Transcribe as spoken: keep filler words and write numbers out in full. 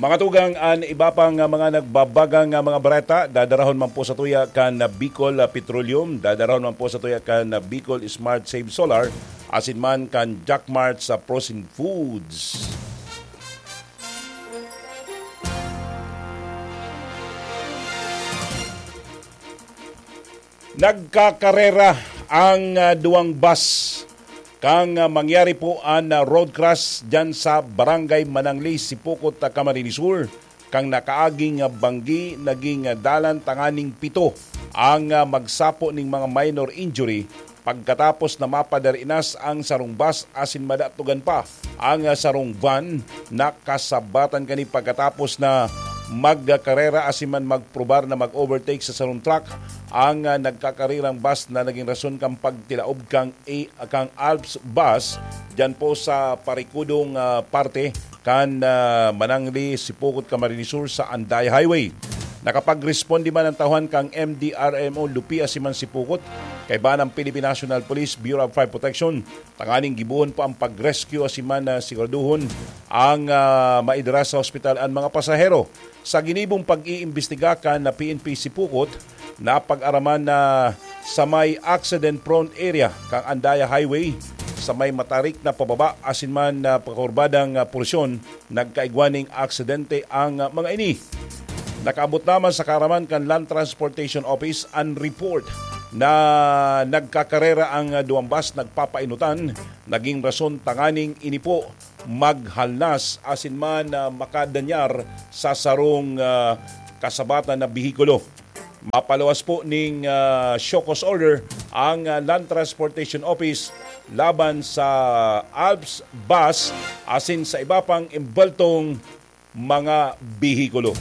Mga tugang, an iba pang, ah, mga nagbabagang, ah, mga bareta, dadarahon man po sa tuya kan, ah, Bicol, ah, Petroleum, dadarahon man po sa tuya kan, ah, Bicol Smart Save Solar, asin man kan Jackmart sa Frozen Foods. Nagkakarera ang, ah, duwang bus kan, ah, mangyari po an, ah, road crash diyan sa Barangay Manangli, Sipocot, ah, Camarines Sur. Kan nakaaging, ah, banggi, naging, ah, dalan tanganing pito ang, ah, magsapo ning mga minor injury pagkatapos na mapadarinas ang sarong bus asin madatugan pa ang, ah, sarong van na kasabatan kani pagkatapos na magkarera asin man magprobar na mag-overtake sa sarong truck. Ang, ah, nagkakarerang bus na naging rason kan pagtilaob kan, A- kan Alps bus diyan po sa parikudong, ah, parte kan, ah, Manangli, Sipocot, Camarines Sur sa Anday Highway. Nakapagresponde man ang tauhan kan M D R M O Lupi asin man Sipocot, kaiba ng Philippine National Police Bureau of Fire Protection, tanganing gibohon pa ang pag-rescue asin man, ah, siguraduhon ang, ah, maidara sa ospital ang mga pasahero. Sa ginibong pag-iimbestiga kan na P N P Sipocot, napag-araman na sa may accident-prone area kan Andaya Highway, sa may matarik na pababa asin man na pakurbadang, ah, porsyon, nagkaigwa ning aksidente ang, ah, mga ini. Nakaabot naman sa kaaraman kan Land Transportation Office an report na nagkakarera ang, ah, duwang bus nagpapainutan, naging rason tanganing ini po maghalnas asin man, ah, makadanyar sa sarong, ah, kasabatan na behikulo. Mapaluwas po ning, ah, show cause order ang, ah, Land Transportation Office laban sa Alps Bus asin sa iba pang embweltong mga behikulo.